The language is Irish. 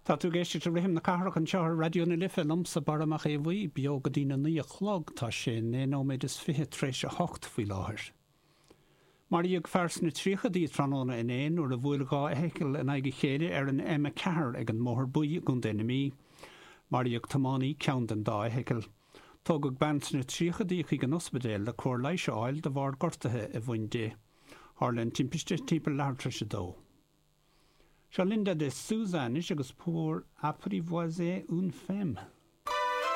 Tá tú ag éisteacht le Rithim na Cathrach anseo ar Raidió na Life liomsa, Barra Mac Aodha Bhuí, beo go dtína naoi a chlog. Tá sé naoi nóiméad is fiche tar éis a hocht faoi láthair. Maraíodh fear sna tríochaidí tráthnóna inné nuair a bhuail dhá fheithicil in aghaidh a chéile ar an M4 ag an mBóthar Buí i gContae na Mí. Maraíodh tiománaí ceann den dá fheithicil. Tógadh bean sna tríochaidí chuig an ospidéal le cóir leighis a fháil de bharr gortuithe a bhain di. Tharla an timpiste timpeall leathuair tar éis a dó. Seo Linda de Souza anois agus Pour apprivoiser une femme.